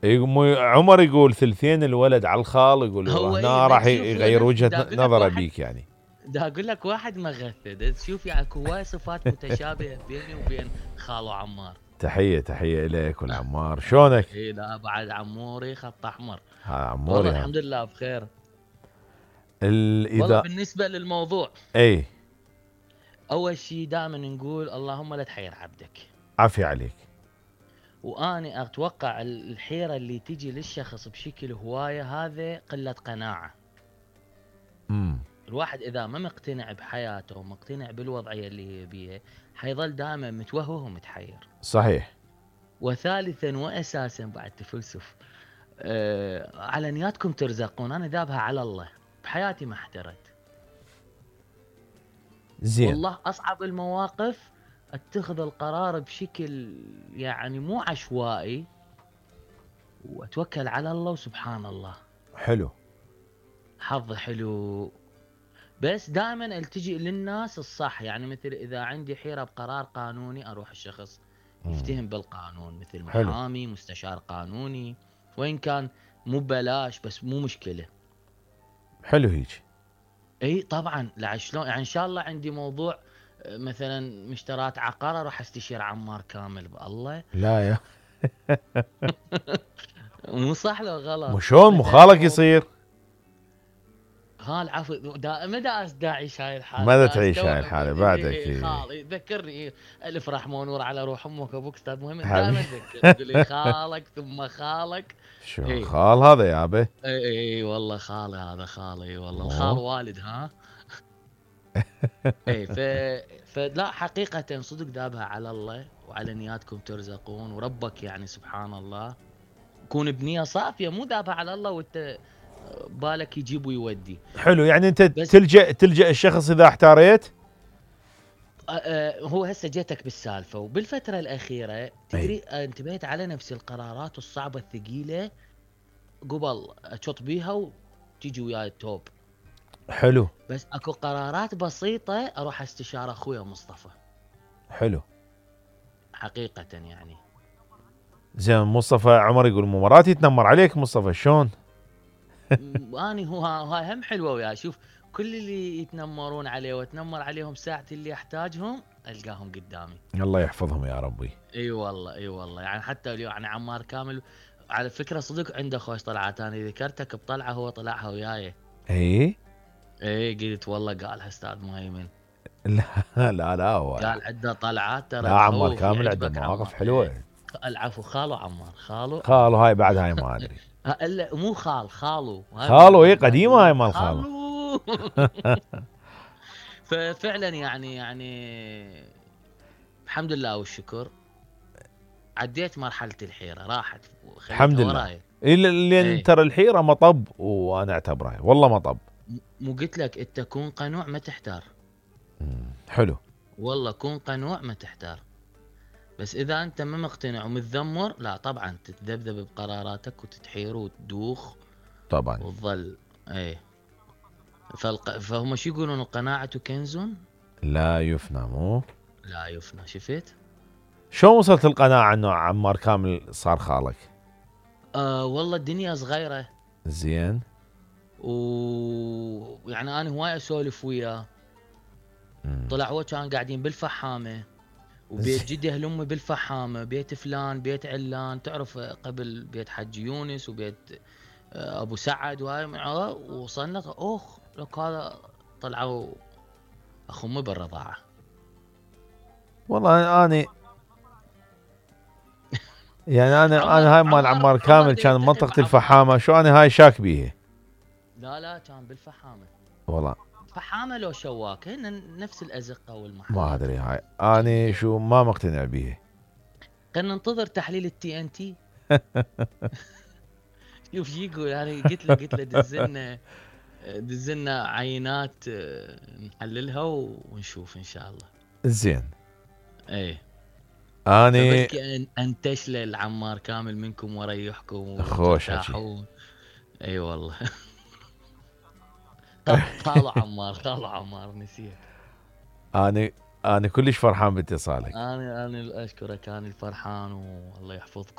عمر يقول ثلثين الولد على الخال، يقول هو هنا راح يغير وجهة نظره بيك يعني. دا اقول لك واحد مغث تشوف يعني هواي صفات متشابهه بيني وبين خالو عمار. تحيه اليك والعمار، شلونك؟ اي لا بعد عموري خط احمر. عموري والله الحمد لله بخير. اذا والله بالنسبه للموضوع اي اول شيء دائما نقول اللهم لا تحير عبدك. عافية عليك. واني اتوقع الحيره اللي تجي للشخص بشكل هوايه هذا قله قناعه. الواحد اذا ما مقتنع بحياته ومقتنع بالوضعيه اللي يبيها حيظل دائما متوهه ومتحير. صحيح. وثالثا واساسا بعد تفلسف على نياتكم ترزقون. انا ذابها على الله بحياتي ما احترت. زين. والله اصعب المواقف اتخذ القرار بشكل يعني مو عشوائي واتوكل على الله وسبحان الله. حلو. حظ حلو. بس دائما التجئ للناس الصح، يعني مثل اذا عندي حيرة بقرار قانوني اروح الشخص يفتهم بالقانون مثل محامي مستشار قانوني، وين كان مو ببلاش بس مو مشكلة. حلو هيك. اي طبعا. لا شلون يعني ان شاء الله عندي موضوع مثلا مشترات عقار اروح استشير عمار كامل بالله. لا يا مو صح لو غلط. مو شلون مو خالك يصير؟ خال عفوا مدى اعيش هاي الحاله. ماذا تعيش هاي الحاله بعدك؟ خال ذكرني الف رحمه ونور على روح امك وابوك استاذ مهم دائما تذكر تقول لي خالك ثم خالك. شو خال هذا يابا؟ اي والله خالي هذا خالي والله. الخال والد ها. اي فلا حقيقه صدق ذابها على الله وعلى نياتكم ترزقون وربك يعني سبحان الله. كون بنيه صافيه مو ذابها على الله وانت بالك يجيب ويودي. حلو يعني انت تلجأ الشخص اذا احتاريت. هو هسه جيتك بالسالفه وبالفتره الاخيره تدري انتبهت على نفس القرارات الصعبه الثقيله قبل اشط بيها وتيجي وياي التوب. حلو. بس اكو قرارات بسيطه اروح استشار اخويا مصطفى. حلو. حقيقه يعني. زين مصطفى عمر يقول مو مرات يتنمر عليك مصطفى شلون؟ اني هاي هم حلوه وياه. شوف كل اللي يتنمرون عليه واتنمر عليهم ساعه اللي احتاجهم القاهم قدامي. الله يحفظهم يا ربي. اي والله يعني حتى اليوم يعني عمار كامل على فكره صدق عنده خوش طلعات. انا ذكرتك بطلعه هو طلعها وياي. اي قلت والله قالها استاذ مهيمن. لا هو قال عنده طلعات ترى. لا عمار كامل عنده مواقف حلوه. العفو خالو عمار. خالو هاي بعد هاي ما ادري. لا مو خالو اي قديمه هاي مال خالو. ففعلا يعني الحمد لله والشكر عديت مرحله الحيره راحت الحمد لله. اللي ترى الحيره مطب وانا اعتبرها والله مطب. مو قلت لك انت كون قنوع ما تحتار. حلو والله كون قنوع ما تحتار. بس اذا انت ما مقتنع ومتذمر لا طبعا تتذبذب بقراراتك وتتحير وتدوخ طبعا وتظل. فهم شو يقولون القناعة كنز لا يفنى. مو لا يفنى. شفت شو وصلت القناعة انه عمار كامل صار خالك؟ والله الدنيا صغيرة. زين. ويعني انا هواي اسولف وياه. طلع هو كان قاعدين بالفحامة وبيت جده لامي بالفحامة، بيت فلان بيت علان تعرف قبل بيت حج يونس وبيت ابو سعد وهاي وصلنا لك هذا طلعوا اخو امي بالرضاعة. والله انا يعني انا هاي مال عمار كامل كان منطقة الفحامة. شو انا هاي شاك بيها. لا كان بالفحامة والله. فحامة لو شواك هن نفس الازقة والمحل. ما ادري هاي انا شو ما مقتنع بيها. خلينا ننتظر تحليل الTNT. شوف شو يقول. انا قلت له دزلنا عينات نحللها ونشوف ان شاء الله. زين. اني انتش للعمار كامل منكم وريحكم خوش حكي. اي والله. خالو عمار نسيت. انا كلش فرحان باتصالك. انا اشكرك. انا الفرحان والله يحفظكم.